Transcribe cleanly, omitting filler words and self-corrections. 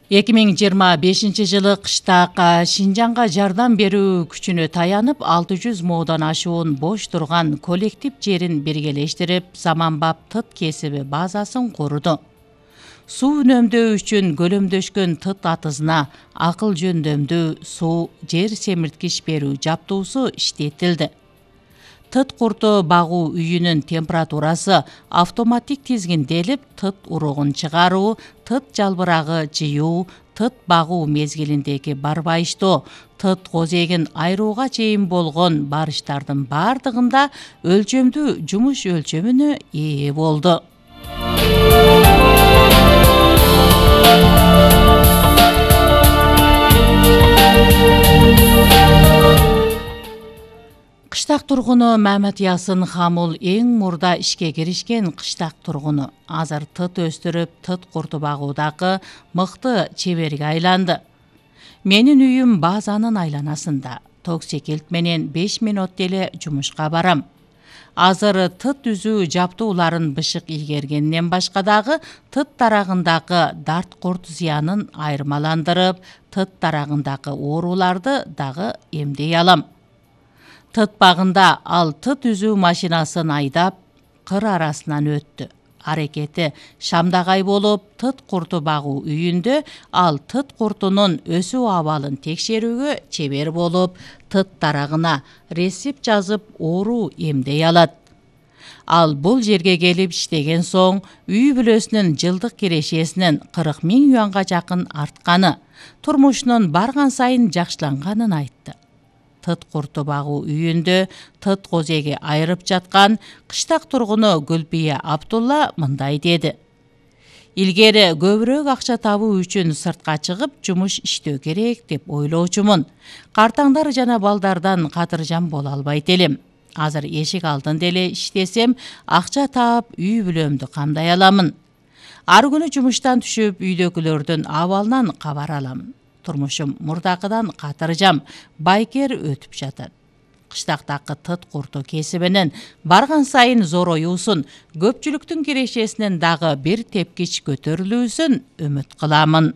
2025-жылы кыштак Шинжаңга жардам берүү күчүнө таянып 600 моодан ашуун бош турган коллектив жерин биргелештирип, заманбап тыт кесиби базасын курду. Суу үнөмдөө үчүн көлөмдөшкөн тыт атызына акыл жөндөмдүү суу жер семирткич берүү жаптуусу иштетилди. Тыт курту багуу үйүнүн температурасы автоматик тизгинделип, тыт уругун чыгаруу, тыт жалбырагы жыюу, тыт багуу мезгилиндеги барбайыштоо, тыт козегин айырууга чейин болгон барыштардын бардыгында өлчөмдүү жумуш өлчөмүнө ээ болду. Кыштак тургуну Мамат Ясын Хамул эң мурда ишке киришкен кыштак тургуну. Азыр тыт өстүрүп, тыт курту багуудагы мыкты чеберге айланды. Менин үйүм базанын айланасында. Ток секилт менен 5 мүнөт деле жумушка барам. Азыр тыт үзүү жаптууларын бышык ийгергенден башка дагы тыт тарагындагы дарт курт зыянын айырмаландырып, тыт тарагындагы ооруларды дагы эмдей алам. Тыт багында ал тыт үзүү машинасын айдап, кыр арасынан өттү. Аракети шамдагай болуп, тыт курту багуу үйүндө ал тыт куртунун өсүү абалын текшерүүгө чебер болуп, тыт тарагына рецепт жазып, оору эмдей алат. Ал бул жерге келип иштеген соң, үй бүлөсүнүн жылдык кирешесинин 40 000 юанга жакын артканы, турмушунун барган сайын жакшыланганын айтты. Тыт курту багуу үйүндө тыт козеги айырып жаткан кыштак тургуну Гүлбия Абдулла мындай деди. Илгери көбүрөөк акча табуу үчүн сыртка чыгып жумуш иштөө керек деп ойлоочумун. Картаңдар жана балдардан катыржан боло албайт элем. Азыр эшик алдын деле иштесем, акча таап үй бүлөмдү камдай аламын. Ар күнү жумуштан түшүп үйдөгүлөрдүн абалынан кабар аламын. Турмушум мурдакыдан катыржам, байкер өтүп жатат. Кыштактагы тыт курту кесибинин барган сайын зороюусун, көпчүлүктүн кирешесинин дагы бир тепкич көтөрүлүүсүн үмүт кыламын.